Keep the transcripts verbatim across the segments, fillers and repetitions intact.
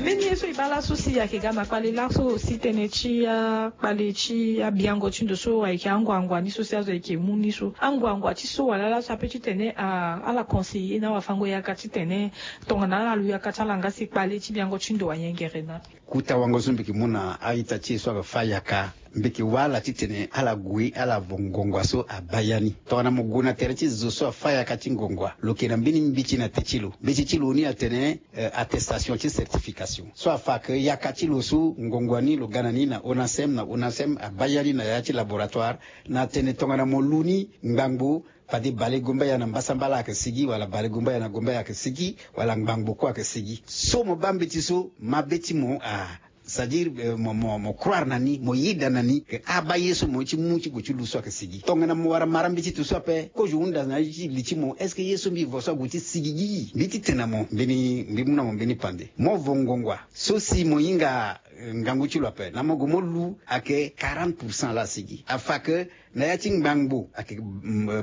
Mbeni ye so e baa laso si ayeke ga na kpale laso si tënë ti akpale ti abiango ti ndo so ayeke anguangua ni so si azo ayeke mu ni so anguangua ti so wala laso ape titene ala conseiller na awafango yaka titene tongana ala lu yaka ti ala nga si kpale ti biango ti ndo ayengere na. Kuta wango so mbi yeke mu na a-ita ti e so ayeke fâ yaka, mbi yeke wâ ala titene ala gue ala vo ngongua so abaa ya ni. Tongana mo gue na tere ti zo so afâ yaka ti ngongua, lo yeke na mbeni mbeti na te ti lo. Mbeti ti lo ni atene attestation ti certification so afa ke yaka ti lo so ngongua ni lo ga na ni na onacem na onacem abaa ya ni na ya ti laboratoire, na tene tongana mo lu ni ngbangbo, fade balegombaya na mbasambala ayeke sigi wala balegombaya na gombaya ayeke sigi, wala ngbangbo kue ayeke sigi. So mo baa mbeti so mabe ti mo a c'est-à-dire mo croire na ni, mo yeda na ni ke abaa ye so mo ye ti mu ti gue ti lu so ayeke sigi. Tongana mo wara mara mbeti ti so ape kozo hunda na ye ti li ti mo est-ce que ye so mbi vo so ague ti sigi gi? Mbi ti tene na mo mbeni mbi mu na mo mbeni pande. Mo vo ngongua so si mo hinga ngangu ti lo ape na mo gue mo lu ayeke quarante pour cent laa asigi. Afa ke na ya ti ngbangbo ayeke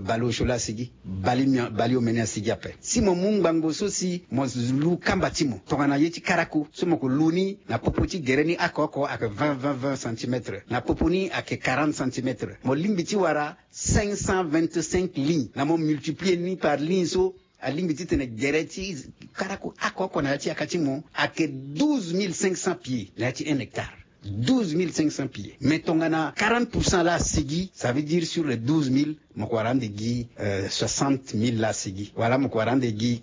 baleosio laa asigi, baleomene asigi ape. Si mo mu ngbangbo so si mo lu kamba ti mo tongana ye ti karako so mo ke lu ni na popo ti gere ni oko oko ayeke vingt vingt vingt centimètres, na popo ni ayeke quarante centimètres. Mo lingbi ti wara cinq cent vingt-cinq lignes na mo multiplier ni par ligne so alingbi titene gere ti karako oko oko na ya ti yaka ti mo ayeke douze mille cinq cents pieds na ya ti un hectare. Douze mille cinq cents pieds. Mais tongana quarante pour cent laa asigi, ça veut dire sur les douze mille mo ko wara ande gi soixante mille laa asigi wala mo ko wara ande gi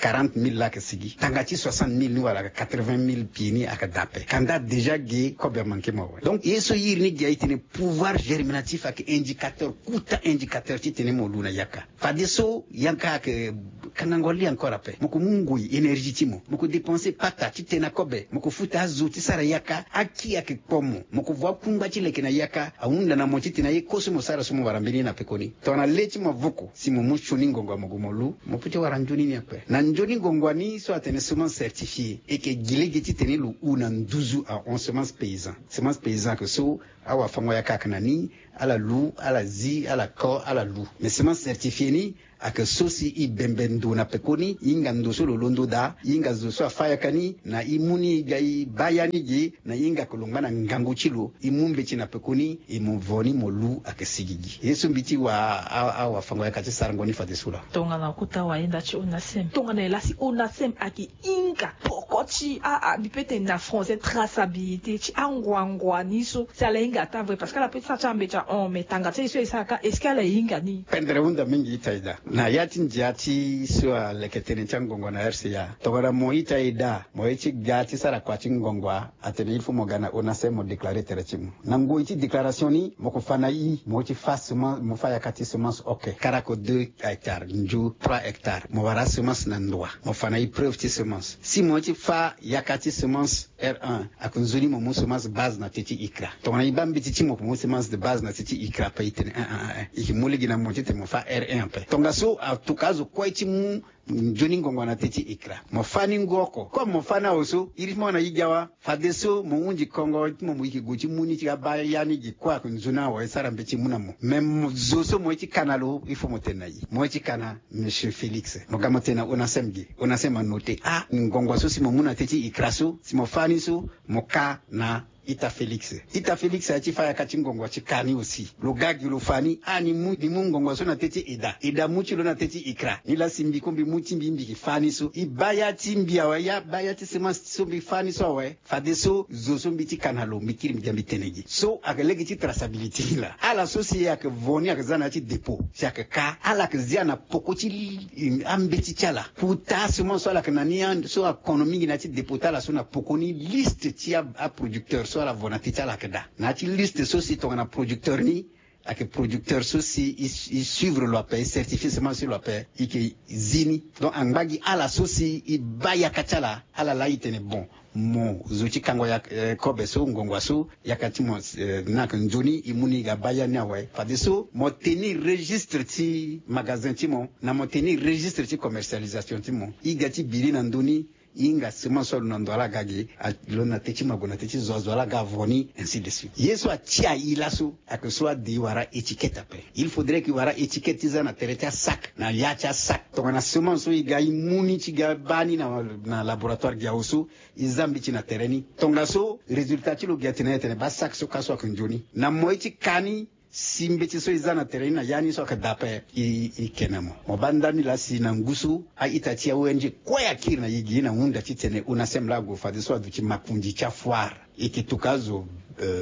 quarante mille laa ayeke sigi. Tanga ti soixante mille ni wala quatre-vingt mille pieds ni ayeke daa ape. Kanda déjà ge kobe amanke mo awe. Donc ye so iri ni gi aye tene pouvoir germinatif ayeke indicateur, kuta indicateur titene mo lu na yaka. Fadeso yanga ayeke kangango li encore ape. Mo ko mu ngoi, énergie ti mo, mo ko dépenser pata ti tena kobe, mo ko futa azo ti sara yaka. Aki ayeke kpo mo, mo ko vo akungba ti leke na yaka. Ahunda na mo titene aye kue so mo sara so mo wara mbeni ye na pekoni. Tongana le ti mo avoko si mo mu sioni ngongo mo gue mo lu, mo peut ti wara nzoni ni ape. Na nzoni ngongo ni so atene semence certifiée, e yeke gi lege titene lo hu na nduzu ahon semence paysan. Semence paysan ayeke so awafango yaka ayeke na ni, ala lu, ala zi, ala ko, ala lu. Mais semence certifiée ni ayeke so si e bembe ndo na pekoni, e hinga ndo so lo londo daa, e hinga zo so afâ yaka ni, na e mu ni e ga e baa ya ni ge, na e hinga ayeke lo ngba na ngangu ti lo, e mu mbeti na pekoni, e mo vo ni mo lu ayeke sigi gi. Ye so mbi ti wa awafango yaka ti sarango ni fadeso laa. Tongana kota wayenda ti onacem, tongana e laa si onacem ayeke hinga poko ti a a mbi peut tene na français traçabilité ti anguangua ni so si ala hinga ataa vrai parce que ala peut ti sara ti ambeti ahon mais tanga ti aye so e sara kâ est-ce que ala hinga ni? Pendere hunda mingi ita e daa na ya ti ndia ti so aleke tënë ti angongo na rca. Tongana mo ita e daa mo ye ti ga ti sara kua ti ngongua, atene il faut mo ga na onacem mo déclarer tere ti mo. Na ngoi ti déclaration ni mo ko fa na i mo ye ti fa semence, mo fa yaka ti semence oke karako deux hectares, nzo trois hectares, mo wara asemence na ndoa, mo fa na i preuve ti semence. Si mo ye ti fa yaka ti semence r un, ayeke nzoni mo mu semence base na te ti icra. Tongana i baa mbeti ti mo mo mu semence de base na te ti icra ape, i tene un un un un i yeke mu lege na mo titene mo fa r un ape. Tongaso atoka azo kue ti mu nzoni ngongo na te ti icra, mo fa ni ngu oko. Comme mo fa ni awe so, iri ti mo na i ga wa. Fadeso mo hunzi kongo ti mo, mo yeke gue ti mu ni ti ga baa ya ni gi kue ayeke nzoni awe, e sara mbeti mu na mo. Mais zo so mo ye ti ka na lo, il faut mo tene na i mo ye ti ka na monsieur Félix. Mo ga mo tene na onacem gi, onacem anote a ngongo so si mo mu na te ti icra so, si mo fa ni so, mo ka na ita Félix. Ita Félix aye ti fa yaka ti ngongo ti ka ni aussi. Lo ga gi lo fa ni a ni mu, ni mu ngongo so na te ti eda, eda mu ti lo na te ti icra. Ni laa si mbi kue mbi mu ti mbi, mbi yeke fa ni so. I baa ya ti mbi awe, ya baa ya ti semence so mbi fa ni so awe. Fadeso zo so mbi ti ka na lo mbi kiri mbi ga mbi tene gi so ayeke lege ti traçabilité ni laa. Ala so si ayeke vo ni ayeke za na ya ti dépôt si ayeke ka, ala yeke zia na poko ti li, ambeti ti ala. Kota semence so ala yeke na ni so akono mingi na ya ti dépôt ti ala so na poko ni liste ti aproducteur so ala vo na te ti ala ayeke daa. Na ya ti liste so si tongana producteur ni ayeke producteur so si e suivre lo ape, e certifier semence ti lo ape, e yeke zi ni. Donc angba gi ala so si e baa yaka ti ala, ala laa e tene bon, mo zo ti kango kobe so, ngongua so, yaka ti mo ni ayeke nzoni, e mu ni e ga baa ya ni awe. Fadeso mo tenir registre ti magasin ti mo, na mo tenir registre ti commercialisation ti mo. E ga ti bi ni na ndö ni, hinga semence so alo na ndo ala ga ge, alo na te ti mago na te ti zo azo ala ga avo ni, ainsi de suite. Ye so atia i laso, ayeke so ade i wara étiquette ape. Il faudrait que i wara étiquette ti za na tere ti asac, na ya ti asac, tongana semence so i ga i mu ni ti ga baa ni na laboratoire gi awe so, i za mbi ti na tere ni. Tongaso résultat ti lo gi atene atene baa sac so ka so ayeke nzoni na moi ti ka ni. Si mbeti so i za na tere ni na ya ni so ayeke daa ape, i ke na mo. Mo baa ndani laa si na ngu so a-ita ti a-ong kue akiri na i gi na hunda titene ONACEM laa ague fadeso aduti makonzi ti afoire. E ke tuka azo,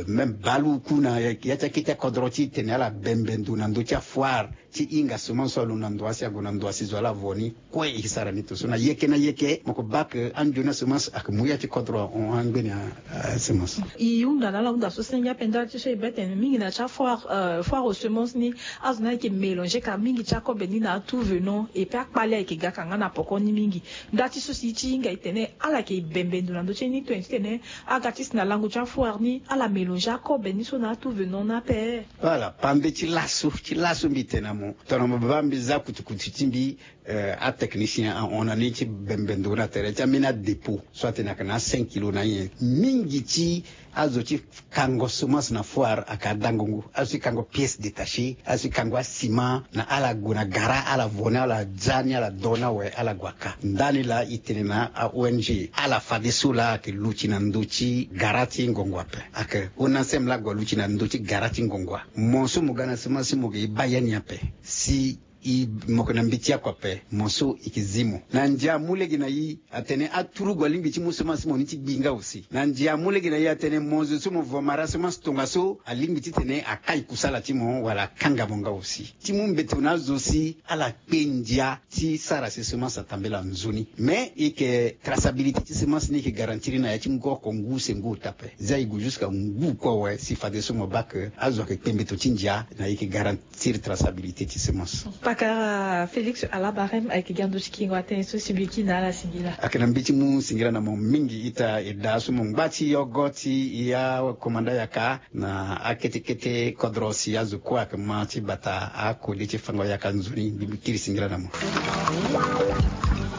même baleoku na ya ti akete akodro titene ala bembe ndo na ndö ti afoire ti hinga semence so alo na ndo asi ague na ndo asi zo ala vo ni. Kue e ke sara ni to so na yeke na yeke mo ke baa ke anzoni asemence ayeke mu ya ti kodro ahon angbeni asemence. E hunda na ala hunda so senge ape ndali ti so e be tene mingi na ya ti afoire, foire aux semences ni, azo ni ayeke mélanger ka mingi ti akobe ni na atout venant, et puis akpale ayeke ga ka nga na poko ni mingi. Ndali ti so si e ti hinga e tene ala yeke bembe ndo na ndö ti e ni to tene aga ti si na lango ti afoire ni ala mélanger akobe ni so na atout venant ni ape. Voilà, pambe ti laso ti laso mbi tene na mo tongana mo baa mbi za kutukutu ti mbi. Atechnicien ahon na ni ti bembe ndo na tere ti ambeni adépôt so atene ayeke na a cinq kilo na nyen mingi ti azo ti kango semence na foire ayeke adango ngu. Azo ti kango pièce détachée, azo ti kango aciment na ala gue na gara ala vo ni ala za ni ala do ni awe ala gue aka. Ndani laa e tene na a-ong ala fadeso laa ayeke luti na ndö ti gara ti ngongo ape. Ayeke ONACEM laa ague aluti na ndö ti gara ti ngongo. Mo so mo ga na semence si mo ge e baa ya ni ape si i mo yeke na mbeti oko ape. Mo so e ke zi mo na ndia amu lege na i atene aturugu alingbi ti mu semence ti mo ni ti gbi nga aussi. Na ndia amu lege na i atene mo zo so mo vo mara semence tongaso alingbi titene akai kusala ti mo wala akanga mo nga aussi. Ti mu mbeto na azo si ala kpe ndia ti sara si semence atambela nzoni. Mais e yeke traçabilité ti semence ni e yeke garantir na ya ti ngu oko ngu use ngu ota ape. Za e gue jusqu'à ngu kue awe si fadeso mo baa ke azo ayeke kpe mbeto ti ndia na e yeke garantir traçabilité ti semence. Pakara Félix Alabarem ayeke gi ando ti kingo atene so si mbi kiri na ala singila. Ayeke na mbi ti mu singila na mo mingi ita e daa so mo ngba ti yogo ti ya komanda yaka na akete kete kodro si azo kue ayeke ma ti bata akode ti fango yaka nzoni mbi mbi kiri singila na mo.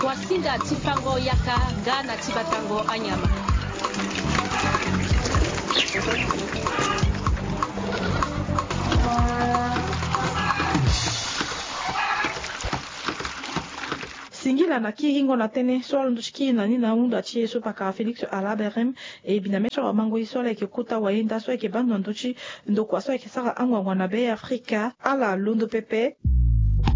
Wasinga ti fango yaka nga na ti batango anyama. Singila na kiringo na tënë so alondo ti kiri na ni na hunda ti e so pakara Félix Alaberem. E bi na mê ti awamango ye so ala yeke kota wayenda so ayeke baa ndo na ndö ti ndokua so ayeke sara anguangu na Be Afrika ala londo pepe.